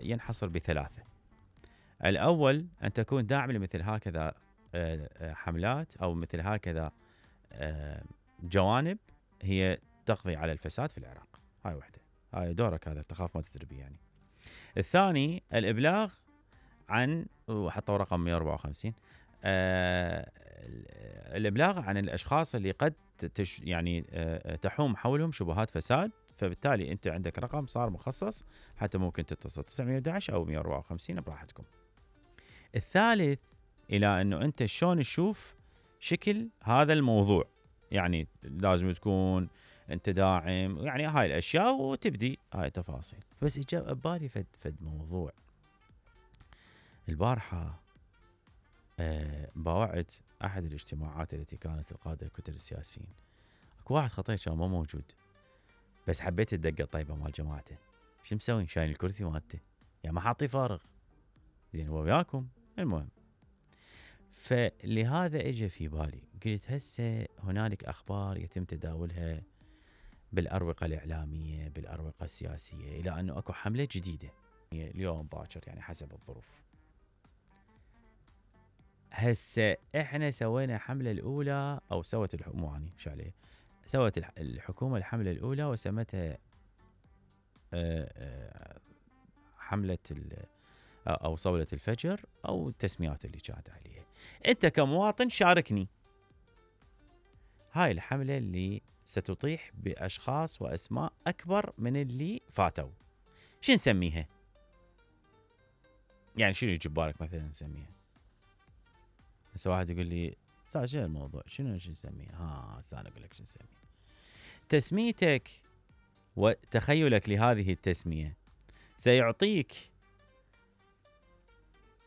ينحصر بثلاثة. الأول أن تكون داعم لمثل هكذا حملات أو مثل هكذا جوانب هي تقضي على الفساد في العراق. هاي وحدة، هاي دورك، هذا تخاف ما تدري يعني. الثاني الإبلاغ عن، وحطوا رقم 154، الإبلاغ عن الأشخاص اللي قد يعني تحوم حولهم شبهات فساد، فبالتالي أنت عندك رقم صار مخصص حتى ممكن تتصل 911 أو 154 براحتكم. الثالث إلى أنه أنت شلون تشوف شكل هذا الموضوع، يعني لازم تكون أنت داعم، يعني هاي الأشياء وتبدي هاي التفاصيل. بس إجا ببالي فد موضوع البارحة، باوعت أحد الاجتماعات التي كانت القادة الكتل السياسيين، اكو واحد خطير كان ما موجود، بس حبيت الدقة الطيبة مال جماعته. شو مسوين؟ شايل الكرسي مالته، يعني ما حاطيه فارغ، زين هو وياكم. المهم، فلهذا اجى في بالي، قلت هسه هنالك اخبار يتم تداولها بالاروقة الاعلامية بالاروقة السياسية الى انه اكو حملة جديدة اليوم باكر، يعني حسب الظروف. هسه احنا سوينا حملة الاولى، او سوت الحكومة، يعني شو عليه، سوت الحكومة الحملة الاولى وسمتها حملة او صولة الفجر، او التسميات اللي كانت عليها. انت كمواطن شاركني، هاي الحملة اللي ستطيح باشخاص واسماء اكبر من اللي فاتوا، شو نسميها؟ يعني شنو يجي ببالك مثلا نسميها؟ هسه واحد يقول لي استاذ شنو الموضوع، شو نسميها؟ انا اقول لك شو نسميها. تسميتك وتخيلك لهذه التسمية سيعطيك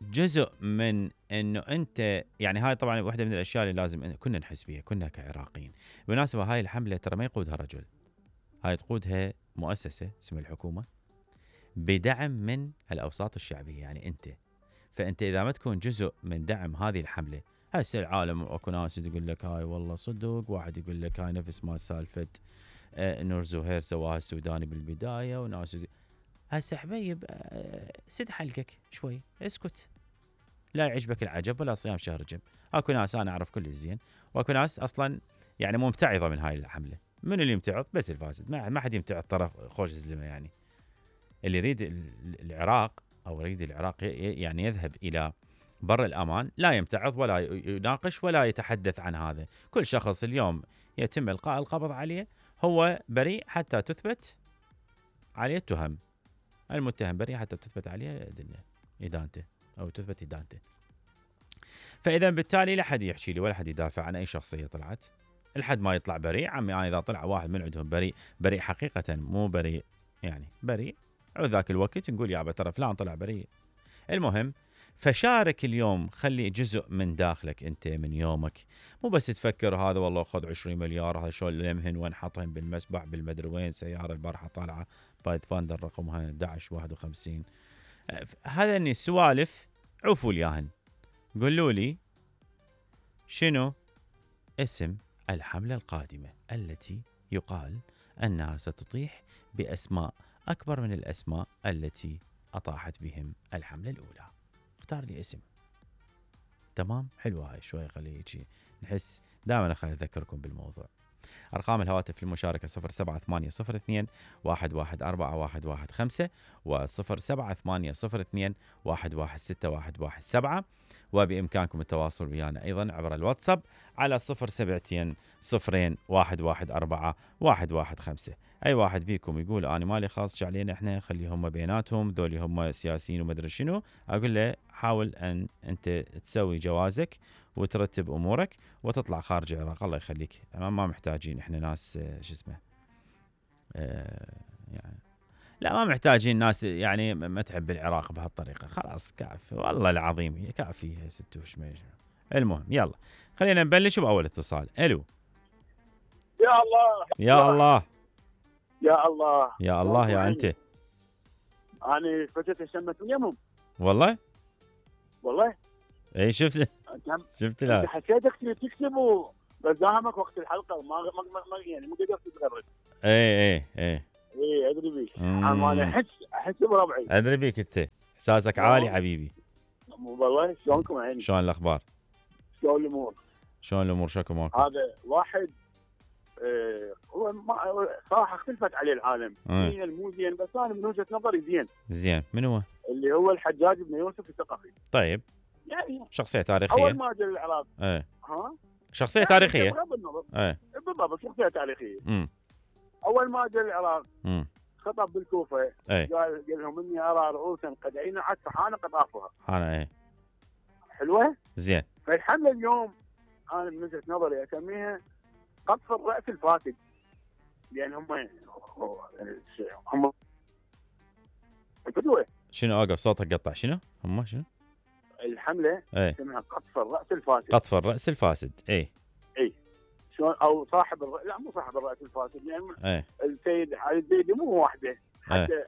جزء من انه انت، يعني هاي طبعا واحدة من الاشياء اللي لازم كنا نحس بها كنا كعراقيين. بالمناسبة هاي الحملة ترى ما يقودها رجل، هاي تقودها مؤسسة اسمها الحكومة بدعم من الاوساط الشعبية، يعني انت. فانت اذا ما تكون جزء من دعم هذه الحملة، هسه العالم اكو ناس تقول لك هاي والله صدق، واحد يقول لك هاي نفس ما سالفة نور زهير سواها السوداني بالبداية، وناس هسه حبيب سد حلقك شوي، اسكت، لا يعجبك العجب ولا صيام شهر رجب. اكو ناس انا اعرف كل الزين، واكو ناس اصلا يعني ممتعضه من هاي الحمله. من اللي يمتعض؟ بس الفاسد، ما حد يمتعض طرف خوش زلمه. يعني اللي يريد العراق او يريد العراق يعني يذهب الى بر الامان، لا يمتعض ولا يناقش ولا يتحدث عن هذا. كل شخص اليوم يتم القاء القبض عليه هو بريء حتى تثبت عليه التهم، المتهم بريء حتى تثبت عليه ادانته او تثبت ادانته. فاذا بالتالي لا حد يحكي لي ولا حد يدافع عن اي شخصيه طلعت لحد ما يطلع بريء. عمي انا اذا طلع واحد من عندهم بريء حقيقه، مو بريء يعني بريء، ذاك الوقت نقول يابا ترى فلان طلع بريء. المهم، فشارك اليوم، خلي جزء من داخلك انت من يومك، مو بس تفكر هذا والله خذ 20 مليار هذا شو لمهن وين حاطهم بالمسبح بالمدري وين، سياره البارحه طالعه بايت فاندر رقمها 1151. هذا اني السوالف عوفوا الياهن، قولوا لي شنو اسم الحملة القادمة التي يقال أنها ستطيح بأسماء أكبر من الأسماء التي أطاحت بهم الحملة الأولى. اختار لي اسم. تمام، حلوة هاي شوي، خليه يجي نحس دائما. خلي أذكركم بالموضوع. أرقام الهواتف للمشاركة 07802 114115 و07802 116117، وبإمكانكم التواصل ويانا أيضا عبر الواتساب على 072 0 114 115. أي واحد بيكم يقول أنا مالي خاص علينا إحنا، خليهم بيناتهم، ذولي هم سياسيين ومدري شنو، أقول له حاول أن أنت تسوي جوازك وترتب امورك وتطلع خارج العراق. الله يخليك، ما محتاجين احنا ناس شو اسمه يعني لا، ما محتاجين ناس يعني ما تحب العراق بهالطريقه. خلاص كافي والله العظيم، كافي ستوش. المهم يلا خلينا نبلش باول اتصال. الو. يا الله يا الله يا الله يا الله يا انت. انا فجأة شمت من يمهم والله اي شفت لا حسيتك تكتب بس داهمك وقت الحلقه ما يعني مو قدرت تتغرد. اي اي ادري بيك، انا احس بربعي. ادري بيك انت احساسك عالي حبيبي. والله شلونكم عيني؟ شلون الاخبار؟ شلون الامور؟ شلون الامور شكو ماكو؟ هذا واحد هو صراحه اختلفت عليه العالم، زين مو زين، بس انا من وجهه نظري زين. زين من هو؟ اللي هو الحجاج بن يوسف الثقفي. طيب يعني شخصيه تاريخيه. اول ما جاء العراق ها شخصيه تاريخيه. بغض النظر بالضبط شخصيه تاريخيه. اول ما جاء العراق خطب بالكوفه، قال لهم اني ارى رؤوسا قد عينعت فحان قطافها. حان حلوه؟ زين. فالحمله اليوم انا من وجهه نظري اسميها قطف الراس الفاسد، لان هم شنو اوقف صوتك قطع شنو؟ هم شنو؟ الحمله اسمها قطف الراس الفاسد. قطف الراس الفاسد اي شلون او صاحب لا مو صاحب الراس الفاسد، يعني السيد علي الزيدي مو وحده حتى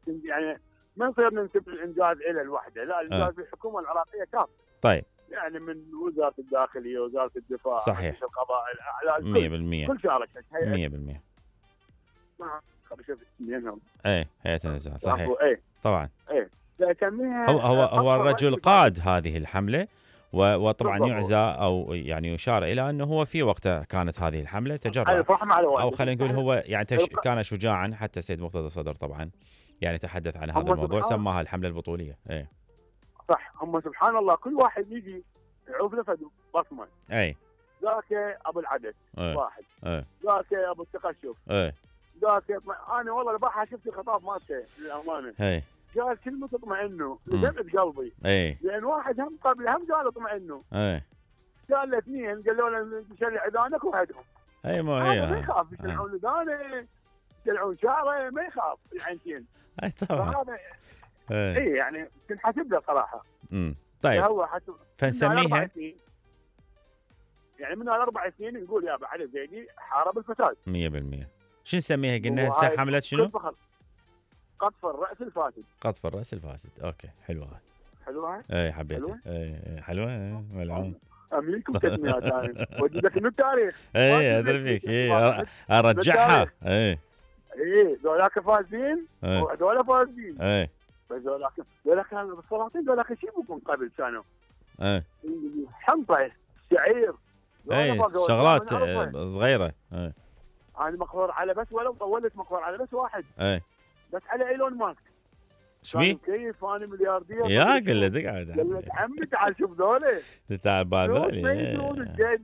يعني ما نصير ننسب الانجاز الى الوحده، لا الانجاز الحكومه العراقيه كاف. طيب يعني من وزاره الداخليه، وزاره الدفاع، صحيح، القضاء الاعلى، 100% كل شاركت 100%. شفت منهم هيئه النزاهه صحيح طبعا. هو الرجل قاد هذه الحمله وطبعا يعزى او يعني يشار الى انه هو في وقته كانت هذه الحمله تجرأ، او خلينا نقول هو يعني كان شجاعا. حتى السيد مرتضى الصدر طبعا يعني تحدث عن هذا الموضوع، سماها الحمله البطوليه. صح. هم سبحان الله كل واحد يجي يعوف له بصمه. ذاك ابو العدد واحد، ذاك ابو التقشف، ذاك انا والله البارحه شفت الخطاب مالته للامانه. قال كلمه تطمئنه لدمعه قلبي. لان واحد هم قبل هم قال اطمئنه. قال له اثنين قالوا له تشلع اذانك وهدهم. ما يخاف يشلعون اذانه، يشلعون شعره، ما يخاف العينتين. طبعا. يعني تنحسب له صراحه. طيب هو حسب فنسميها يعني من 4 سنين نقول يا ابو علي الزيدي حارب الفساد 100%. شو نسميها قلنا هسه حمله شنو؟ قطف الراس الفاسد. قطف الراس الفاسد. اوكي حلوه. حلوه؟ حبيتها. حلوه ملعون. امليكم تسميات انا وجدك من التاريخ. ادري فيك. ارجعها. ذولاك فاسدين وهذول فاسدين. بس ذولاك كانوا بالسلاطين، ذولاك شو يبون قبل كانوا؟ حنطه، شعير، شغلات صغيره. انا مقهور على بس ولو طولت مقهور على بس واحد. بس على ايلون ماسك. شمي؟ كيف انا ملياردير يا قل له تقعد. قال لك عمي تعال شوف ذولا. تعال بهذول. ما يدرون الجد.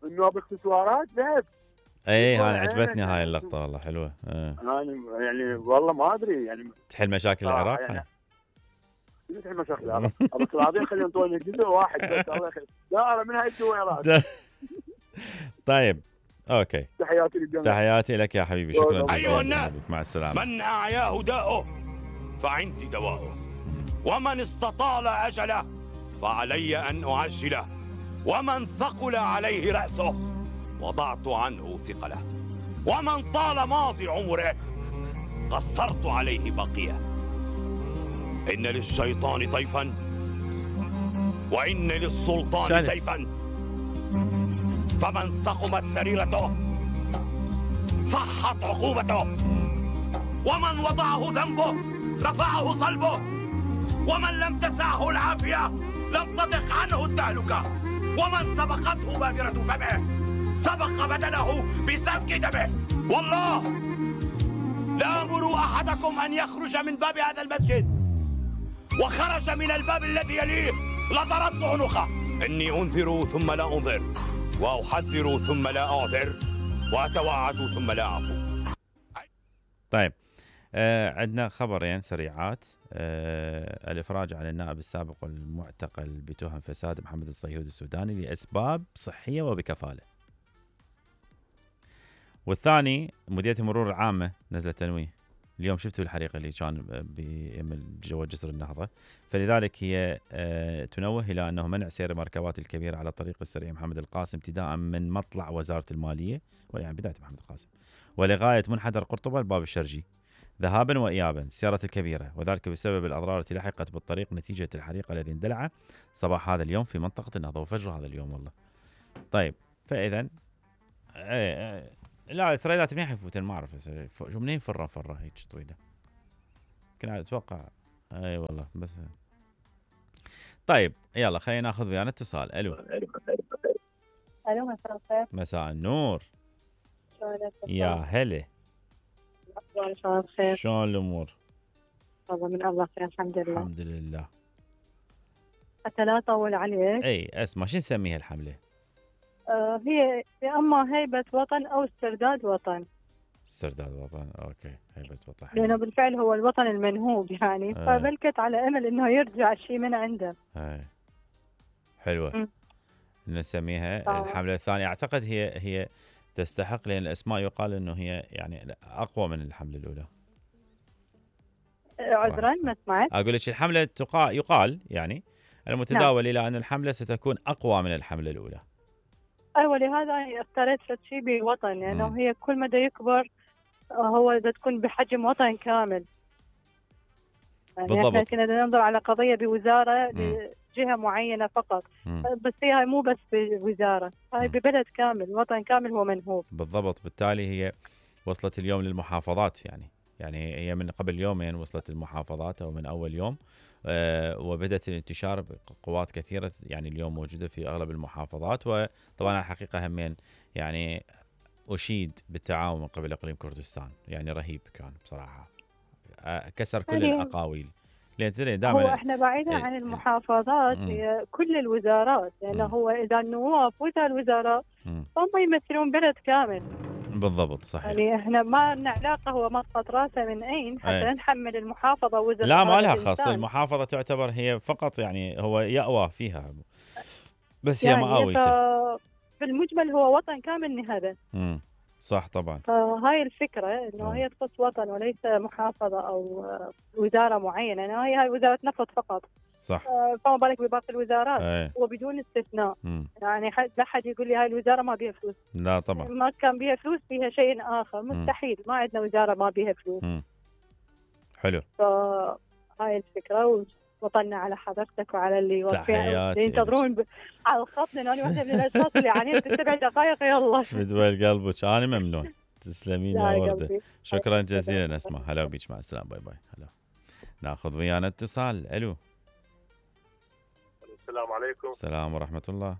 انه باكسسوارات ذهب. انا عجبتني هاي اللقطه والله حلوه. انا يعني والله ما ادري يعني تحل مشاكل العراق. يعني تحل مشاكل العراق. بس العظيم خلينا نطول جزء واحد بس الله يخليك. دائره من هاي الدويرات. طيب اوكي. تحياتي للجميع. تحياتي لك يا حبيبي. شكرا. ايها الناس، مع السلامه. من اعياه داؤه فعندي دواؤه، ومن استطال اجله فعلي ان اعجله، ومن ثقل عليه راسه وضعت عنه ثقله، ومن طال ماضي عمره قصرت عليه بقيه. ان للشيطان طيفا وان للسلطان سيفا، فمن سقمت سريرته صحت عقوبته، ومن وضعه ذنبه رفعه صلبه، ومن لم تسعه العافية لم تضق عنه التهلكة، ومن سبقته بادرة فمه سبق بدنه بسفك دمه. والله لآمر أحدكم أن يخرج من باب هذا المسجد وخرج من الباب الذي يليه لضربت عنقه. إني أنذر ثم لا أنذر، وأحذر ثم لا أعذر، وأتوعد ثم لا أعفو. طيب عندنا خبرين سريعات. الإفراج عن النائب السابق والمعتقل بتهم فساد محمد الصيهود السوداني لأسباب صحية وبكفالة. والثاني مديرية المرور العامة نزلت تنويه. اليوم شفتوا الحريقة اللي كان جوا جسر النهضة، فلذلك هي تنوه إلى أنه منع سير المركبات الكبيرة على الطريق السريع محمد القاسم ابتداء من مطلع وزارة المالية، يعني بداية محمد القاسم، ولغاية منحدر قرطبة الباب الشرجي ذهابا وإيابا السيارة الكبيرة، وذلك بسبب الأضرار التي لحقت بالطريق نتيجة الحريق الذي اندلع صباح هذا اليوم في منطقة النهضة وفجر هذا اليوم والله. طيب فإذا لا التريلات منين حيفوتن ما اعرف شو منين فره هيك طويله كنا اتوقع اي والله بس. طيب يلا خلينا ناخذ ويانا اتصال. الو مساء الخير. مساء النور. شلونك؟ يا هلا. شلون بخير؟ شلون الامور؟ والله من الله خير الحمد لله. الحمد لله. حتى لا اطول عليك. اي اسمع شو نسميها الحمله؟ هي يا اما هيبه وطن او استرداد وطن. استرداد وطن اوكي هيبه وطن. لانه بالفعل هو الوطن المنهوب يعني فبلكت على امل انه يرجع شيء من عنده. حلوه. نسميها الحمله الثانيه. اعتقد هي تستحق لان الاسماء يقال انه هي يعني اقوى من الحمله الاولى. عذرا ما سمعت. اقول لك الحمله يقال يعني المتداول الى ان الحمله ستكون اقوى من الحمله الاولى. ايوه لهذا اختاريت شيء بوطن لانه يعني هي كل مدى يكبر هو تكون بحجم وطن كامل. يعني بالضبط. احنا كنا ننظر على قضيه بوزاره لجهه معينه فقط. بس هي مو بس بوزاره، هاي ببلد كامل، وطن كامل هو منهوب. بالضبط. بالتالي هي وصلت اليوم للمحافظات يعني هي من قبل يومين وصلت المحافظات او من اول يوم. وبدأت الانتشار بقوات كثيرة يعني اليوم موجودة في أغلب المحافظات. وطبعا الحقيقة همين يعني أشيد بالتعاون من قبل إقليم كردستان يعني رهيب كان بصراحة كسر كل الأقاويل. لأن دائما هو احنا بعيدا عن المحافظات هي كل الوزارات لأنه هو إذا النواب وإذا الوزراء هم يمثلون بلد كامل. بالضبط صحيح. يعني احنا ما لنا علاقه هو مسقط راسه من اين حتى نحمل المحافظه وزر. لا ما لها خاص. المحافظه تعتبر هي فقط يعني هو يأوى فيها بس يعني هي مآوي. في المجمل هو وطن كامل نهضه. صح طبعا. فهاي الفكره انه هي تخص وطن وليس محافظه او وزاره معينه. يعني هاي وزاره نفط فقط. صح. فما بالك بباقي الوزارات وبدون استثناء. يعني لا حد يقول لي هاي الوزاره ما بيها فلوس. لا طبعا. ما كان بيها فلوس بيها شيء اخر مستحيل. ما عندنا وزاره ما بيها فلوس. حلو. فهاي الفكره وطلنا على حضرتك وعلى اللي ينتظرون على الخط لان انا واحده من الاشخاص اللي عانيت ب7 دقائق. يلا بدوي قلبك انا ممنون. تسلمين يا ورده. شكرا جزيلا اسماء. هلا بيك مع السلامه. باي باي. هلا. ناخذ ويانا اتصال. الو السلام عليكم. السلام ورحمة الله.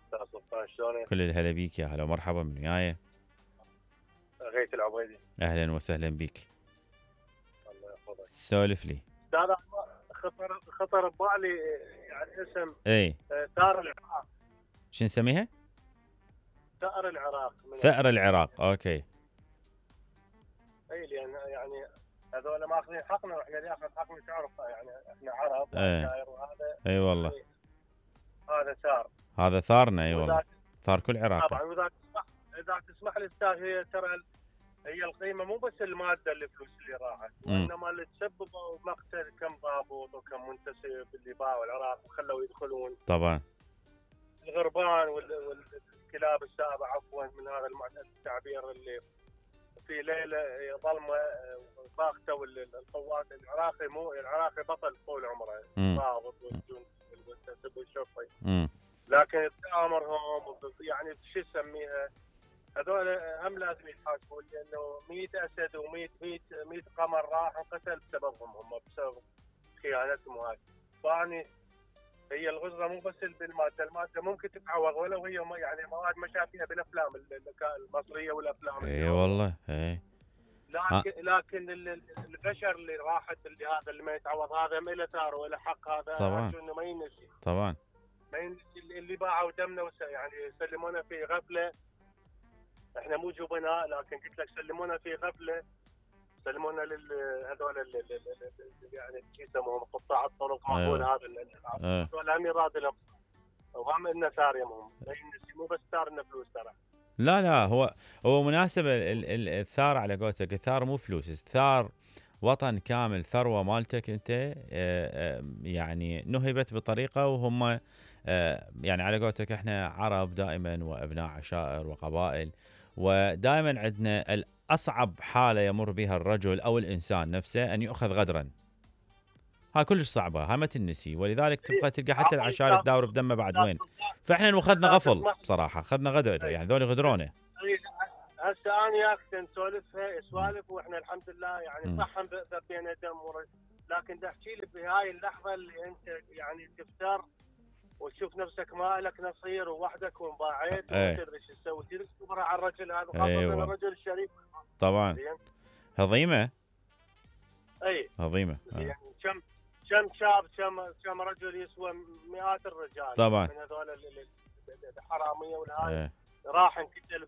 استاذ سلطان شلونك؟ كل الهلا بيك يا هلا ومرحبا من وياي. غيث العبيدي. اهلا وسهلا بيك. الله يحفظك. سولف لي. استاذ خطر ببالي يعني اسم ثار العراق. شو نسميها؟ ثأر العراق. ثأر العراق اوكي. اي لان يعني هذول ماخذين حقنا واحنا اللي اخذ حقنا تعرف يعني احنا عرب وهذا. اي والله. هذا ثار. هذا ثارنا اي والله. ثار كل عراق. طبعا اذا تسمح لي استاذ هي ترى هي القيمه مو بس الماده الفلوس اللي راحت وانما اللي تسببوا مقتل كم ضابط وكم منتسب اللي باعوا العراق وخلوا يدخلون. طبعا. الغربان والكلاب السابعه عفوا من هذا التعبير اللي في ليله ظلمه باغته القوات العراقي بطل طول عمره ضابط والجند والمنتسب والشرطي. لكن تآمرهم يعني شو نسميها هذول هم لازم يتحاسبون لانه 100 اسد و100 قمر راح وقتل بسببهم هم بسبب خيانتهم وهاي. فاني هي الغزره مو بس الماده ممكن تتعوض ولو هي يعني مواد ما شافيها بالافلام المصريه والافلام. اي والله اي. لكن البشر اللي راحت اللي ما يتعوض هذا ما له ثار ولا حق. هذا طبعا انه ما ينسي. طبعا ما ينسي اللي باعوا دمنا يعني سلمونا في غفله. احنا مو جبناء لكن قلت لك سلمونا في غفله. سلمونا هذول يعني شو يسموهم قطاع الطرق معقول هذا هذول هم يراد لهم وهم لنا ثار يمهم. ما ينسي مو بس ثار انه فلوس ترى. لا هو مناسب الثار على قولتك. الثار مو فلوس. الثار وطن كامل. ثروة مالتك انت يعني نهبت بطريقة وهم يعني على قولتك احنا عرب دائما وابناء عشائر وقبائل ودائما عندنا الأصعب حالة يمر بها الرجل أو الإنسان نفسه أن يؤخذ غدرا. هاي كلش صعبة. هاي ما تنسي. ولذلك تبقى تلقى حتى العشائر تداور بدمه بعد وين. فاحنا اخذنا غفل بصراحة. اخذنا غدر يعني ذولي غدرونه. هسه انا وياك نسولفها سوالف واحنا الحمد لله يعني صح بينا دم لكن تحكي لي بهاي اللحظه اللي انت يعني تفتر وتشوف نفسك ما لك نصير ووحدك وانباعيت وما تدري شو تسوي، تريد تصبر على الرجل هذا خاصه الرجل الشريف طبعا هضيمه. اي هضيمه يعني كم شاب كم رجل يسوى مئات الرجال طبعا من هذول الحراميه والهاي راح انقتل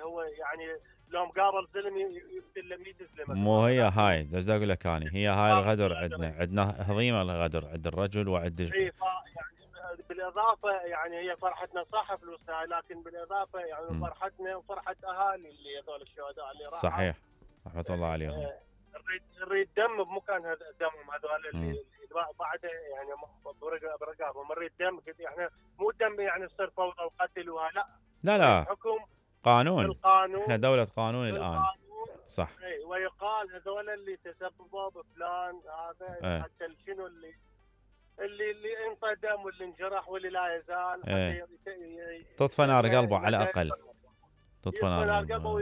هو يعني لو مقابل ظلم يقتل 100 زلمه. مو هي هاي بس اقول لك اني هي هاي الغدر عندنا هضيمه الغدر عند الرجل وعند يعني بالاضافه يعني هي فرحتنا صح فلوسها لكن بالاضافه يعني فرحتنا وفرحه اهالي اللي هذول الشهداء اللي راحوا صحيح رحمه الله عليهم. نريد دم بمكان دمهم هذول اللي بعده يعني برقابهم نريد دم احنا مو دم يعني يصير فوضى وقتل لا حكم قانون. القانون احنا دولة قانون الان صح. اي ويقال هذول اللي تسببوا بفلان هذا حتى شنو اللي انطى واللي انجرح واللي لا يزال تطفى نار قلبه على الاقل. تطفى نار قلبه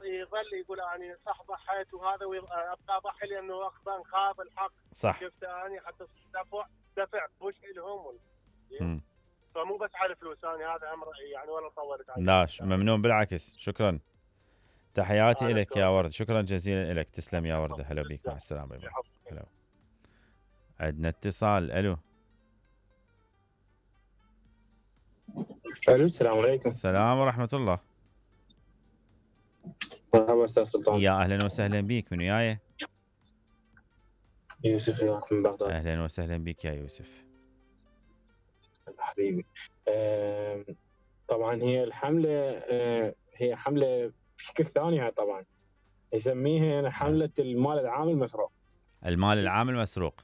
يظل يقول اني صح ضحيت وهذا وابقى اضحي لانه نخاف الحق. صح. شفت اني حتى دفع بوش لهم فمو بس على الفلوس انا هذا امر يعني ولا طولت عليه. لا ممنون بالعكس شكرا. تحياتي لك يا ورد شكرا جزيلا لك تسلم يا ورده. هلا بك مع السلامه. هلا. عندنا اتصال. الو السلام عليكم. السلام ورحمه الله. مرحبا استاذ سلطان. يا اهلا وسهلا بك. من وياي؟ يوسف من بغداد. اهلا وسهلا بك يا يوسف حبيبي. طبعا هي الحمله هي حمله بشكل ثاني طبعا يسميها حمله المال العام المسروق. المال العام المسروق.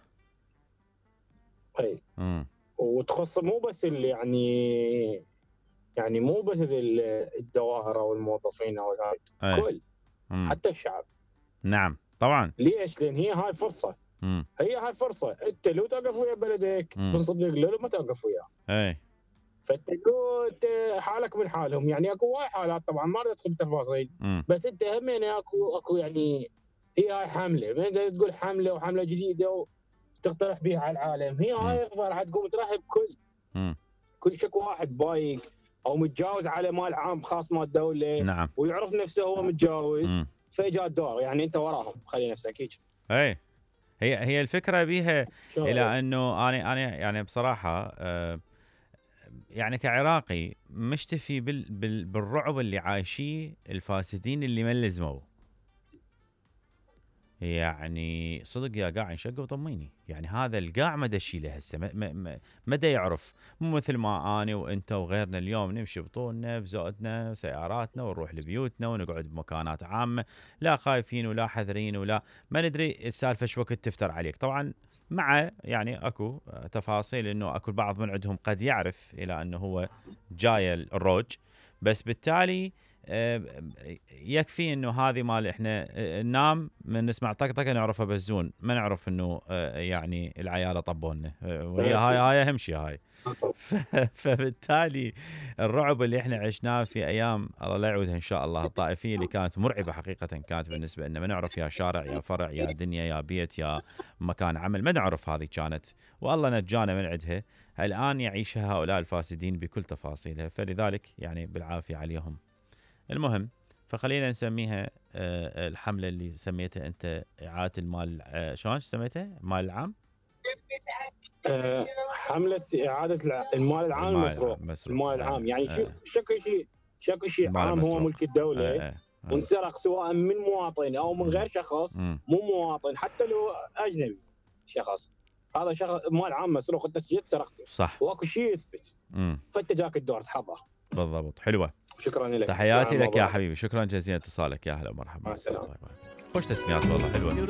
اي وتخص مو بس اللي يعني مو بس الدوائر او الموظفين او كل حتى الشعب. نعم طبعا. ليش؟ لان هي هاي فرصه. هي هاي فرصه انت لو توقف ويا بلدك بنصدق لو ما توقف وياه. اي فتقول حالك من حالهم يعني اكو وايد حالات طبعا ما ادخل بتفاصيل بس انت همين اكو يعني هي هاي حمله ما انت تقول حمله وحمله جديده وتقترح بها على العالم. هي هاي راح تقوم ترحب كل شكو واحد بايق او متجاوز على مال عام خاص مال الدوله. نعم. ويعرف نفسه هو متجاوز فاجا الدور يعني انت وراهم خلي نفسك هيك. اي هي الفكره بيها الى انه انا يعني بصراحه يعني كعراقي مشتفي بالرعب اللي عايشيه الفاسدين اللي ما لزموا. يعني صدق يا قاع انشق وطميني يعني هذا القاع ما دشيله هسه ما يعرف. مو مثل ما انا وانت وغيرنا اليوم نمشي بطولنا بزودنا سياراتنا ونروح لبيوتنا ونقعد بمكانات عامه لا خايفين ولا حذرين ولا ما ندري السالفه شو وقت تفتر عليك. طبعا مع يعني اكو تفاصيل انه اكو البعض من عندهم قد يعرف الى انه هو جاي الروج بس بالتالي يكفي انه هذه مال احنا ننام من نسمع طقطقه نعرفها بزون ما نعرف انه يعني العياله طبونا وهي هاي اهم شيء هاي. فبالتالي الرعب اللي احنا عشناه في ايام الله لا يعودها ان شاء الله الطائفيه اللي كانت مرعبه حقيقه كانت بالنسبه لنا ما نعرف يا شارع يا فرع يا دنيا يا بيت يا مكان عمل ما نعرف هذه كانت والله نجانا من عندها. الان يعيشها هؤلاء الفاسدين بكل تفاصيلها فلذلك يعني بالعافيه عليهم. المهم فخلينا نسميها الحمله اللي سميتها انت اعاده المال شلون سميتها؟ المال العام؟ حمله اعاده المال العام المسروق. المال العام يعني شكو شيء عام هو ملك الدوله وانسرق سواء من مواطن او من غير شخص مو مواطن حتى لو اجنبي شخص هذا شخص مال عام مسروق انت جيت سرقته صح واكو شيء يثبت فانت جاك الدور تحضر. بالضبط. حلوه. شكرا لك. تحياتي لك يا حبيبي شكرا جزيلا اتصالك. يا هلا ومرحبا. مع السلامه. خوش تسميات والله حلوه.